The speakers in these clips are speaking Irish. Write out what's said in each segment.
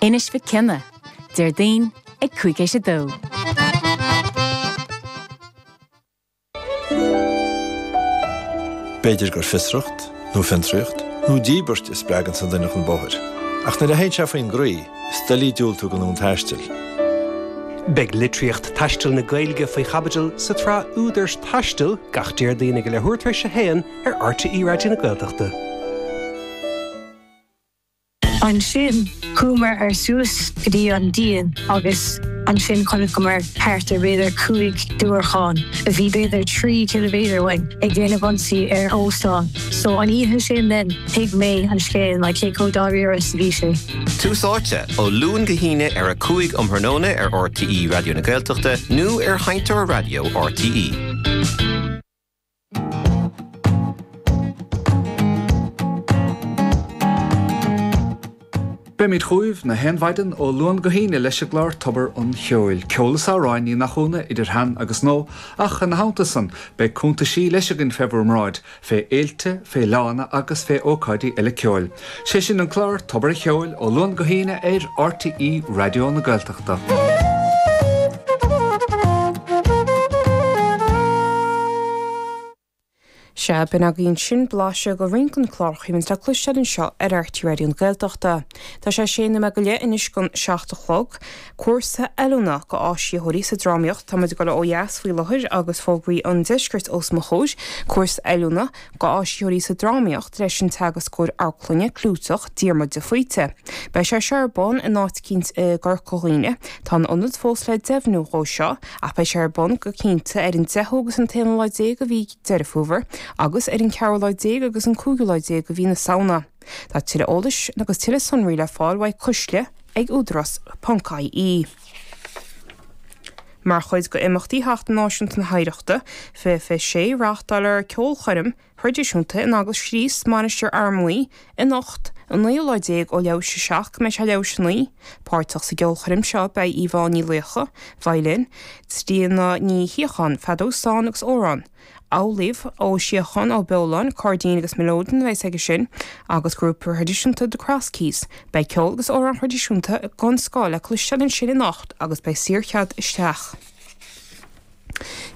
Inis Mhic Cionnaith, Déardaoin ag 2:05. B'fhéidir gur fiosracht, nó fiontraíocht, nó díbirt a spreaganns an duine chun bóthair. Ach nuair a théann sé faoin gcroí, is doiligh diúltú don fhonn taistil. Beidh litríocht taistil na Gaeilge faoi chaibidil sa tsraith Údair Taistil gach Déardaoin ag a leathuair tar éis a haon ar RTÉ Raidió na Gaeltachta. Ansin chuamar ar suas go dtí an díon agus ansin chonaiceamar thart ar b'fhéidir 5 diúracán a bhí b'fhéidir 3 ciliméadar uainn ag déanamh ionsaí ar óstán. So an oíche sin then thuig mé an scéal like cé chomh dáiríre is a bhí sé. Tús Áite, ó Luan go hAoine ar 5 um thráthnóna ar RTÉ Raidió na Gaeltachta nó ar Sheinnteoir Raidió RTÉ. Beimid chugaibh na haon mhaidin ó Luan go hAoine leis an gclár Tobar an Cheoil. Ceol is amhráin, ní nach ionadh, idir shean agus nua, ach ina theannta san, beidh cuntaisí leis againn fé bhur mbráid, fé fhéilte, fé fhleánna agus fé ócáidí eile ceoil. Sé sin an clár Tobar an Cheoil ó Luan go hAoine ar RTÉ Raidió na Gaeltachta. Sea, b'in agaibh ansin blaiseadh de roinnt de na cláracha a bhíonns le cloisteáil anseo ar RTÉ Raidió na Gaeltachta. Tá sé sé nóiméad go leith anois don seacht a chlog. Cúrsa oiliúna go áisitheoirí sa drámaíocht, tá muid ag dul ó dheas faoi láthair agus fógraí an deiscirt os mo chomhair, cúrsa oiliúna go áisitheoirí sa drámaíocht leis an teagascóir amharclainne clúiteach Diarmuid de Faoite. Beidh sé seo ar bun in áit eicínt i gCorca Dhuibhne. Tá an ionad fós le deimhniú dhó seo ach beidh sé ar bun go cinnte ar an deichiú agus an t-aonú lá déag de mhí Deireadh Fómhair agus ar an ceathrú lá déag agus an cúigiú lá déag de mhí na Samhna. Tá tuilleadh eolais agus tuilleadh sonraí le fáil uaidh cuisle ag údarás ponc ie. Mar chuid de imeachtaí Sheachtain Náisiúnta na hOidhreachta 2026, reáchtáilfear ceolchoirm thraidisiúnta in Eaglais Chríost, Mainistir Fhear Maí, anocht, an naoú lá déag ó leathuair théis a seacht go mbeidh sé leathuair théis a naoi. Páirteach sa gceolchoirm seo beidh Yvonne Ní Laochdha, veidhlin, Tríona Ní Shíocháin, feadóg stáin agus bodhrán, Amhlaoibh Ó Síocháin Ó Beoláin, cairdín agus mileoidean a bheas aige sin, agus grúpa thraidisiúnta The Cross Keys. Beidh ceol agus amhráin thraidisiúnta den scoth le cloisteáil ansin anocht agus beidh saorchead isteach.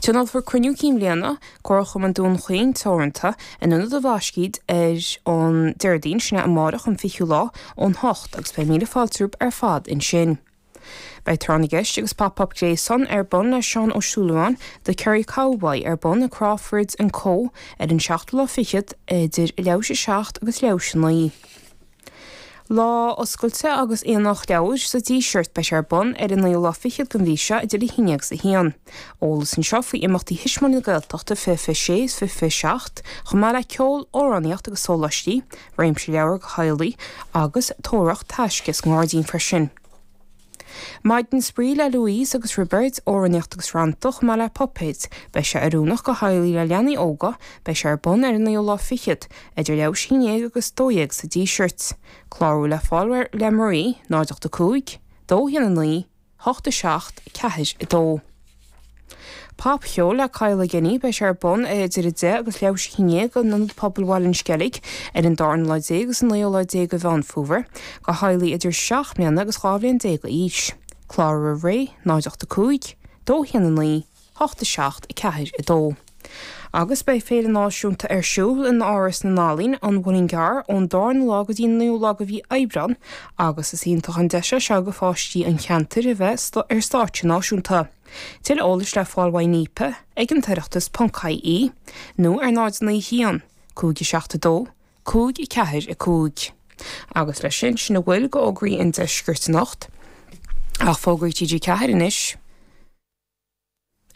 Tionólfar Cruinniú Cinn Bhliana, Comharchumann Dún Chaoin Teoranta, in Ionad an Bhlascaoid ar an Déardaoin, sin é amárach an 20ú lá, ón hocht agus beidh míle fáilte romhaibh ar fad ansin. Beidh Tráth na gCeist agus Pop Up Gréasán ar bun le Seán Ó Súilleabháin, The Kerry Cowboy, ar bun i Crawford and Co ar an seachtú lá fichead idir leathuair théis a seacht agus leathuair théis a naoi. Lá Oscailte agus Aonach Leabhar sa Díseart, beidh sé ar bun ar an naoú lá fichead den mhí seo idir 11 agus 1. Eolas anseo faoi imeachtaí Thuismitheoirí na Gaeltachta 2026 is 2027, chomh maith le ceol, amhránaíocht agus sóláistí, réimse leabhar do theaghlaigh agus tóraireacht taisce sa ngairdín freisin. Maidin Spraoi le Louise agus Roibeard, amhránaíocht agus rannta, chomh maith le puipéid. Beidh sé oiriúnach do theaghlaigh le leanaí óga. Beidh sé ar bun ar an naoú lá fichead, idir leathuair théis 11 agus 12 sa Díseart. Clárú le fáil le Marie, 0 8 5, 2 1 9, 8 7 4 2. Popcheol le Kyle Guinea, beidh sé ar bun idir 10 agus leathuair théis 11 in Ionad Pobail Bhaile an Sceilg ar an darna lá déag agus an naoú lá déag de Mheán Fómhair, do theaghlaigh idir 7 mbliana agus 12 bhliain d'aois. Clárú roimh ré, 0 8 5, 2 1 9, 8 7 4 2. Agus beidh Féile Náisiúnta ar siúl in Áras na nEalaíon, An Muileann gCearr, ón darna lá go dtí an naoú lá de mhí Aibreán agus is iontach an deis é seo do pháistí an cheantair a bheith ar stáitse náisiúnta. Tuilleadh eolais le fáil uaidh NIPA ag an tOireachtas ponc ie nó ar 0 9 1 5 7 2 5 4 5. Agus leis sin, sin a bhfuil d'fhógraí an deiscirt anocht. Ach fógraí TG4 anois.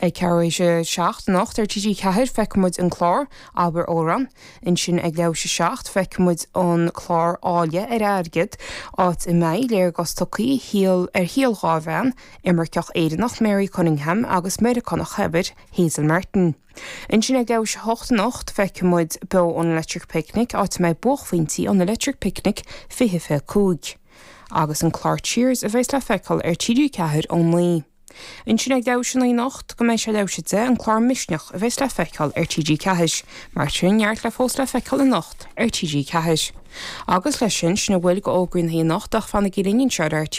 Ag ceathrú théis a 7 anocht ar TG4 feicfidh muid an clár, Abair Amhrán. Ansin ag leathuair théis a 7 feicfidh muid an clár Áille ar Airgead, áit a mbeidh léargas tugtha ar shaol dhá bhean, imirceach Éireannach Mary Cunningham agus Meiriceánach shaibhir Hazel Martin. Ansin ag leathuair théis a 8 anocht feicfidh muid beo ón Electric Picnic, áit a mbeidh buaicphointí ón Electric Picnic 2025. Agus an clár Cheers a bheas le feiceáil ar TG4 ón 9. Ansin ag leathuair tar éis a 9 anocht go mbeidh sé leathuair tar éis a 10 an clár Misneach a bheas le feiceáil ar TG4. Mar sin, neart le fós le feiceáil anocht ar TG4. Agus leis sin, sin a bhfuil de fhógraí na hoíche anocht ach fanaigí linn anseo ar RTÉ.